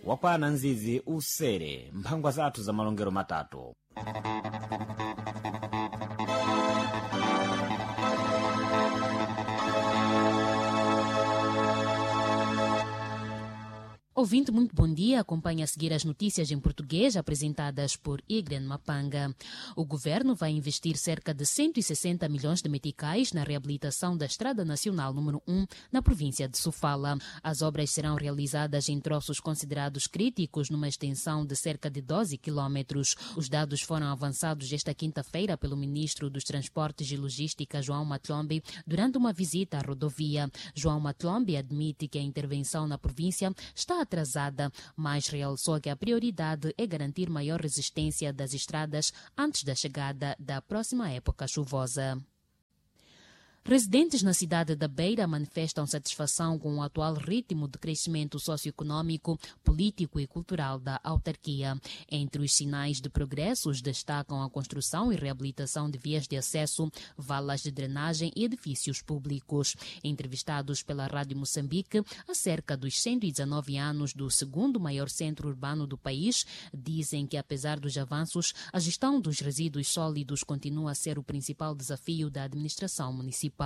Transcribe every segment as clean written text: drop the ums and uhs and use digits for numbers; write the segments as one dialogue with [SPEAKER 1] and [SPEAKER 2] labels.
[SPEAKER 1] Wakwana nzizi usere mphangwa zathu za malongero matatu.
[SPEAKER 2] Ouvinte, muito bom dia. Acompanhe a seguir as notícias em português apresentadas por Igren Mapanga. O governo vai investir cerca de 160 milhões de meticais na reabilitação da Estrada Nacional número 1 na província de Sofala. As obras serão realizadas em troços considerados críticos numa extensão de cerca de 12 quilómetros. Os dados foram avançados esta quinta-feira pelo ministro dos Transportes e Logística, João Matlombe, durante uma visita à rodovia. João Matlombe admite que a intervenção na província está atrasada, mas realçou que a prioridade é garantir maior resistência das estradas antes da chegada da próxima época chuvosa. Residentes na cidade da Beira manifestam satisfação com o atual ritmo de crescimento socioeconômico, político e cultural da autarquia. Entre os sinais de progressos destacam a construção e reabilitação de vias de acesso, valas de drenagem e edifícios públicos. Entrevistados pela Rádio Moçambique acerca dos 119 anos do segundo maior centro urbano do país, dizem que, apesar dos avanços, a gestão dos resíduos sólidos continua a ser o principal desafio da administração municipal.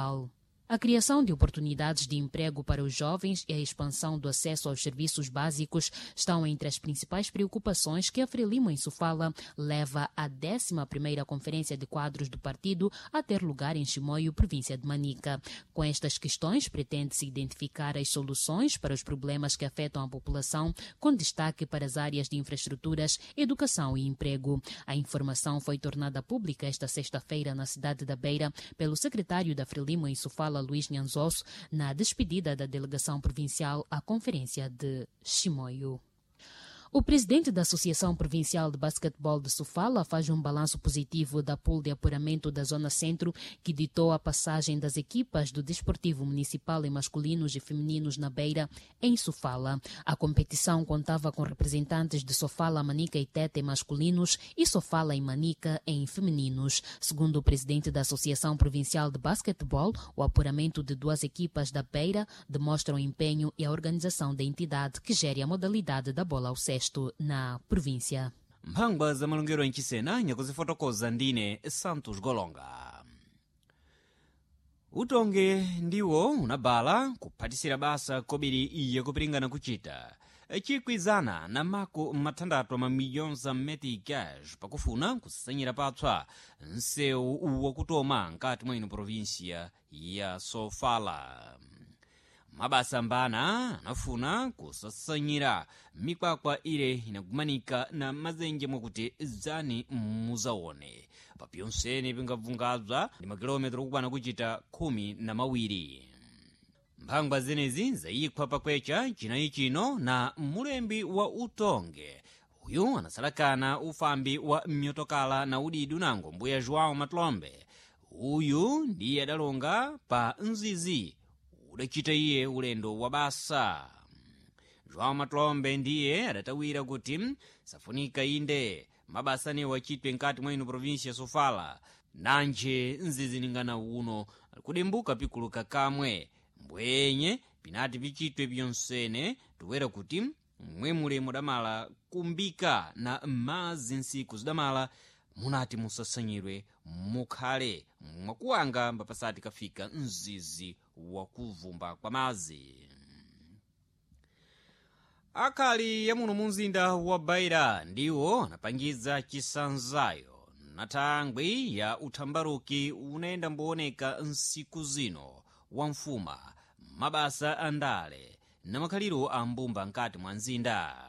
[SPEAKER 2] A criação de oportunidades de emprego para os jovens e a expansão do acesso aos serviços básicos estão entre as principais preocupações que a Frelimo em Sofala leva à 11ª Conferência de Quadros do Partido a ter lugar em Chimoio, província de Manica. Com estas questões, pretende-se identificar as soluções para os problemas que afetam a população, com destaque para as áreas de infraestruturas, educação e emprego. A informação foi tornada pública esta sexta-feira na cidade da Beira pelo secretário da Frelimo em Sofala, Luís Nhanzoso, na despedida da delegação provincial à Conferência de Chimoio. O presidente da Associação Provincial de Basquetebol de Sofala faz um balanço positivo da pool de apuramento da Zona Centro, que ditou a passagem das equipas do Desportivo Municipal em masculinos e femininos na Beira, em Sofala. A competição contava com representantes de Sofala, Manica e Tete em masculinos e Sofala e Manica em femininos. Segundo o presidente da Associação Provincial de Basquetebol, o apuramento de duas equipas da Beira demostra o empenho e a organização da entidade que gere a modalidade da bola ao cesto na província.
[SPEAKER 1] Mphangwa za malongero enchisena nyakuzifotokoza ndine Santos Golonga. Utonge ndiwo unabala kuphatisira basa kobiri yakupiringana kuchita chikwizana na mako mathandathu mamiliyoni za meticas pakufuna kusanyira patswa nsewu wakutoma nkati mwa ino província ya Sofala. Mabasa mbana anafuna kusasanyira mikwakwa ile inagumanika na mazenje mwakuti zani muzaone papyonsene pingabvungabza ndi makilometero okwana kuchita 12. Mphangwa zenezi zayikhwa pakwecha chinayi chino na mulembi wa utonge uyu anasalakana ufambi wa mnyotokala na udidi unango mbuya João Matlombe. Uyu ndiye adalonga pa nzizi udachita iye ulendo wa basa. João Matlombe ndiye adatawira kuti safunika inde mabasa anewo achitwe nkati mwa ino província ya Sofala, nanje nziziningana uno kudembuka pikuluka kamwe mbwenye pinati pichitwe pyonsene toera kuti mwemule mudamala kumbika na mazi nsiku zidamala munati musasanyirwe mukhale mwakuwanga mbapasati kafika mzizi wakuvumba kwa mazi. Akhali ya muno mu mzinda wa Beira ndiwo anapangiza chisanzayo na thangwi ya uthambaruki unayenda mbooneka nsiku zino wa mfuma mabasa andale na makhaliro a mbumba nkati mwa mzinda.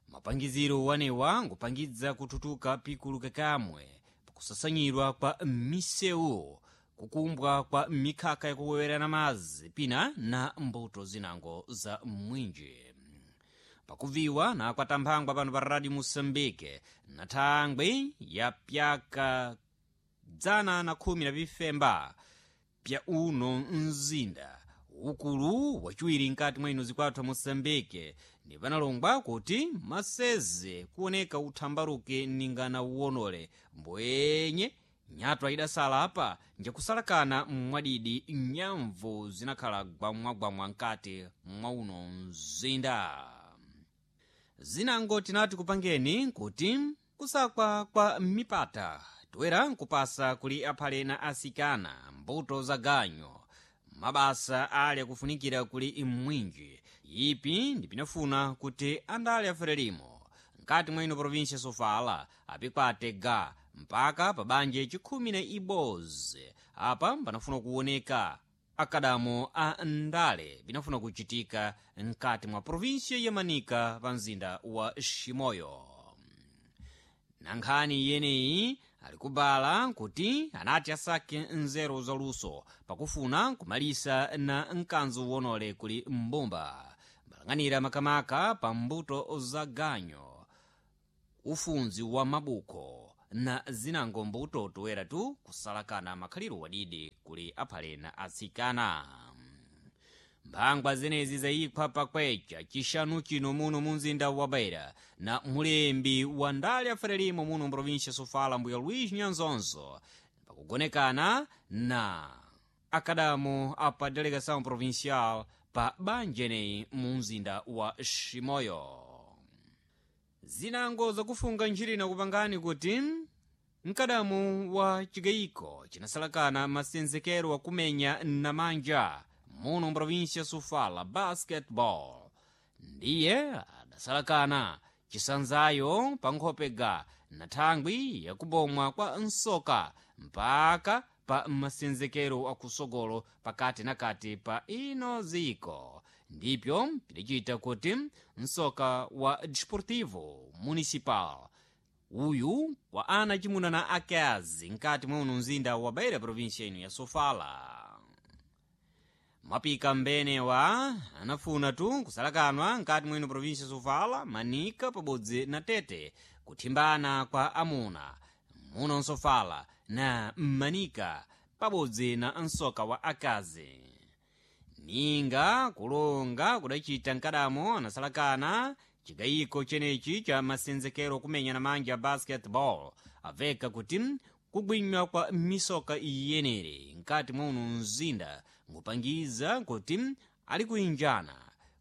[SPEAKER 1] Mapangiziro wanewa ngupangidza kuthutuka pikuluka kamwe pakusasanyidwa kwa misewu, kukumbwa kwa mikhaka yakuwewerana madzi pina na mbuto zinango za mwinji. Pakuviwa na kwatamphangwa pano pa Radio Moçambique na thangwi ya pyaka 115 pya uno mzinda ukulu wachiwiri nkati mwa ino zikwathu Moçambique ndi panalongwa kuti maseze kuoneka uthambaruke ningana uwonole mbwenye nyatwa idasala apa njakusalakana mwadidi nyamvu zinakhala gwamwagwamwa nkati mwa uno mzinda. Zinango tinati kupangeni kuti kusakwa kwa mipata toera nkupasa kuli aphale na asikana mbuto za ganyo mabasa ali akufunikira kuli mwinji ipi ndipinafuna kuti andale aferelimo mkati mwa ino província Sofala apikwate ga mpaka pabanje chikhumi na ibozi. Apa panafuna kuoneka akadamo a ndale binafuna kuchitika mkati mwa província ya Manika pa mzinda wa Shimoyo. Na nkhani yeneyi alikubala kuti anati asake nzeru zaluso pakufuna kumalisa na mkanzo wonole kuli mbumba mbalang'anira makamaka pa mbuto za ganyo, ufunzi wa mabuko na zinango mbuto toera tu kusalakana makhaliro wadidi kuli aphale na atsikana. Mphangwa zenezi zayikhwa pakwecha chixanu chino muno mu mzinda wa Beira na mulembi wa ndale aferelimo muno mprovíncia Sofala mbuya Luís Nyanzonzo pakugonekana na akadamo apa delegação provincial pa banjeneyi mu mzinda wa Shimoyo. Zinango zakufunga ntchito kupangani kuti mkadamu wa chigayiko chinasalakana masenzekero akumenya namanja muno mprovíncia Sofala basketball ndiye adasalakana chisanzayo pa nkhopega na thangwi yakubomwa kwa nsoka mpaka pa masenzekero akusogolo pakati na kati pa ino ziko ndipyo pidacita kuti msoka wa Desportivo Municipal uyu wa ana chimuna na akazi mkati mwa uno mzinda wa Beira província ino ya Sofala. Mapika mbenewa anafuna tu kusalakanwa mkati mwino província Sofala, Manika pabodzi na Tete kuthimbana kwa amuna muno Nsofala na Manika pabodzi na msoka wa akazi. Ninga kulonga kudacita mkadamo anasalakana chigayiko chenechi cha masenzekero kumenya na manja basketball aveka kuti kugwinywa kwa misoka iyenere mkati mwa uno mzinda ngupangiza kuti ali kuinjana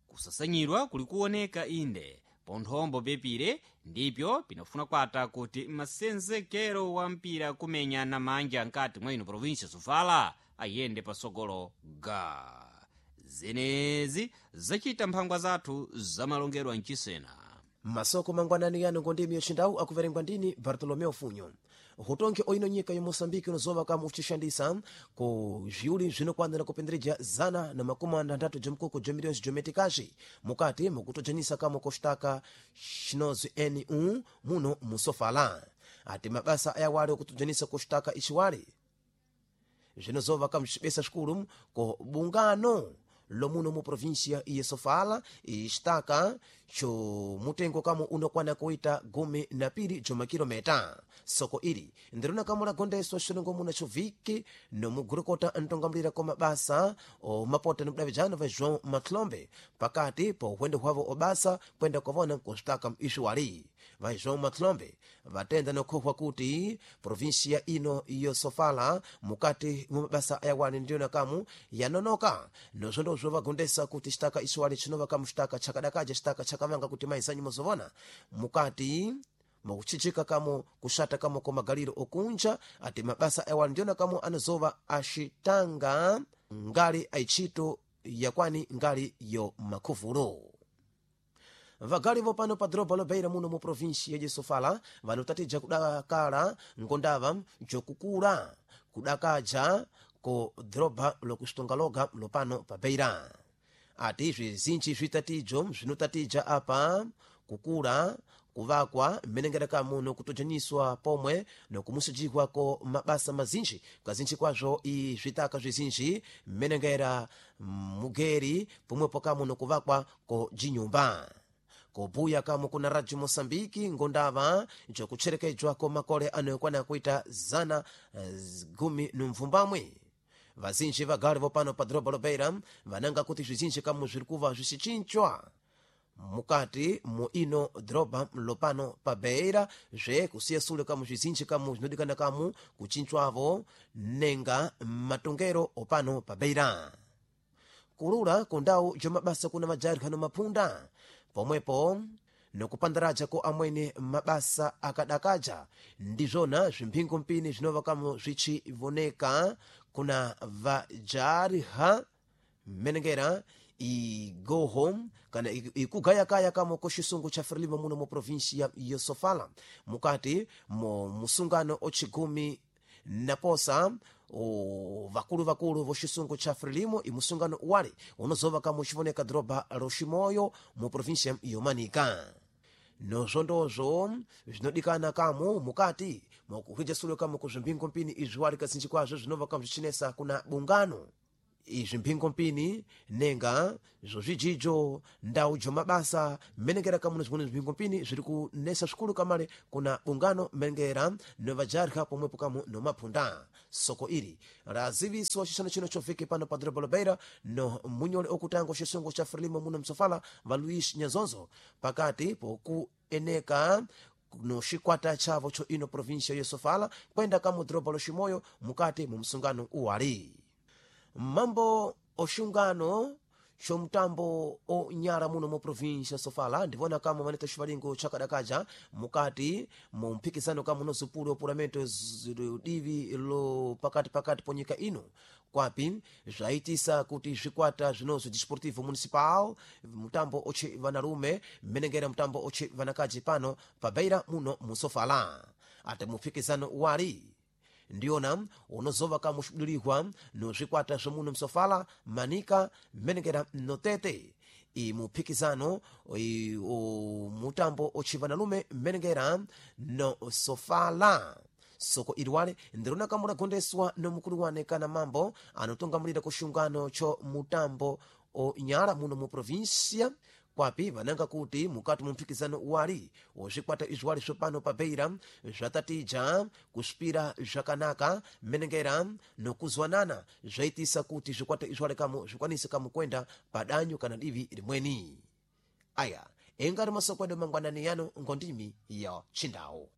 [SPEAKER 1] kusasanyidwa kuli kuoneka inde ponthombo pepire ndipyo pinafuna kwata kuti masenzekero wa mpira kumenya na manja mkati mwa ino província Sofala ayende pasogolo ga zenezi zacita mphangwa zathu zamalongedwa mchisena.
[SPEAKER 3] Masoko mangwanani yano ngondimi yocindawu akuverengwa ndini Bartolomeo Funyo. Hutonke oino nyika ya Moçambique unozova kama uchishandisa ku zviuli zvinokwanira kupendereja 163 jomkoko jo milhões de meticais mukati mukutojanisa kama kostaka chinozi N1 muno musofala. Ati mabasa ayawali okutojanisa kostaka ichiwali zvinozova kama cibesa xikulu ko bungano lomuno mu província iye Sofala ixitaka co mutengo kamo unokwana kuita 12 jomakilometa. Soko ili ndirona kamo lagondeswa xilongomuna xo viki nomugurukota ntongamulira ko mabasa omapota nokudavijana va João Matlombe pakati pa uhwendo hwavo obasa kwenda kwavona nkuxitaka ixuwali. Va João Matlombe vatenda nokhohwa kuti província ino yo Sofala mukati mwa mabasa ayawani ndiyona kamu yanonoka nozvondozvo vagondesa kuti xitaka ixuwali xinova kamu xitaka chakadakaja xitaka chakamanga kuti maizanyu mozovona mukati mukuchichika kamo kuxata kamo ko magaliro okunja. Ati mabasa ayawali ndiyona kamo anozova axitanga ngali aitchito yakwani ngali yo makhuvulo. Vagali vopano pa doroba lobeira muno mu província ya Sofala vanotatija kudakala ngondava jokukula kudakaja ko doroba lokuxitonga loga lopano pa Beira. Ati zvizinji zvitatijo zvinotatija apa kukula kuvakwa mmenengera kamuno kutojaniswa pomwe nokumusijikwa ko mabasa mazinji kazinji kwazvo i zvitaka zvizinji mmenengera mugeri pomwepo kamuno kuvakwa ko jinyumba. Kubuya kamo kuna Radio Moçambique ngondava jokucherekedzwa ko makole anokwana kuita 118. Vazinji vagali vopano pa doroba lobeira vananga kuti zvizinji kamo zviri kuva zvicichinchwa mukati mu ino doroba lopano pa Beira zve kusiya sule kamo zvizinji kamo zvinodikana kamo kuchinchwavo nenga matongero opano pa Beira. Kulula ku ndau jomabasa kuna majarikano maphunda pomwepo Nokupandaraja ko amwene mabasa akadakaja ndizvona zvimphingo mpini zvinova kamo zvichivoneka kuna vajarha mmenengera igoho kana ikugayakaya kamo ko xisungu cha Frelimo muno mu provinsia ya Sofala mukati mo musungano ochigumi naposa vakulu vakulu voxisungu cha Frelimo imusungano wale unozova kamo xivoneka doroba roximoyo mu provinsia yomanika. Nozvondozvo zvinodikana kamo mukati mokuhwijasulo kamo ku zvimphingo mpini izvi wali kazinji kwazvo zvinova kamo zvichinesa kuna bungano. Izvi mphingo mpini nenga zozvijijo, ndau jomabasa, mmenengera kamuno zvimweni zvimphingo mpini zviri kunesa zvikulu kamale kuna bungano mmenengera novajarha pomwepo kamu nomaphunda. Soko ili laziviswa xixano chino choviki pano pa doroba Beira no munyole okutanga xisungu cha Frelimo muno msofala va Luís Nyazonzo pakati pokueneka no xikwata chavo cho ino província ya Sofala kwenda kamu doroba loximoyo mukati mu msungano uwali. Mambo oxungano xomutambo onyala muno mu província Sofala ndivona kama maneta xivalingo chakadakaja mukati mu mphikizano kama unozupula opulamento divi lo pakati pakati ponyika ino kwapi zvaitisa kuti zvikwata zvinozwi Desportivo Municipal mutambo oche vanarume mmenengera mutambo oche vanakaji pano pa Beira muno mu Sofala ate mumphikizano wali ndiyona unozova kamuxidulihwa nozvikwata zvomuno msofala Manika mmenengera notete imuphikizano mutambo ochivanalume mmenengera no Sofala. Soko iliwale ndirona kamulagondeswa nomukulu wane kana mambo anotungamulira kuxungano cho mutambo onyala muno mu província kwapi vananga kuti mukati mu mphikizano wali wozvikwata izviwali zvopano pa Beira zvatatija kusvipira zvakanaka mmenengera nokuzwanana zvaitisa kuti zvikwata izviwali kamo zvikwanise kamo kwenda padanyu kana divi limweni. Aya engari masoko edu mangwanani yano ngondimi ya Chindau.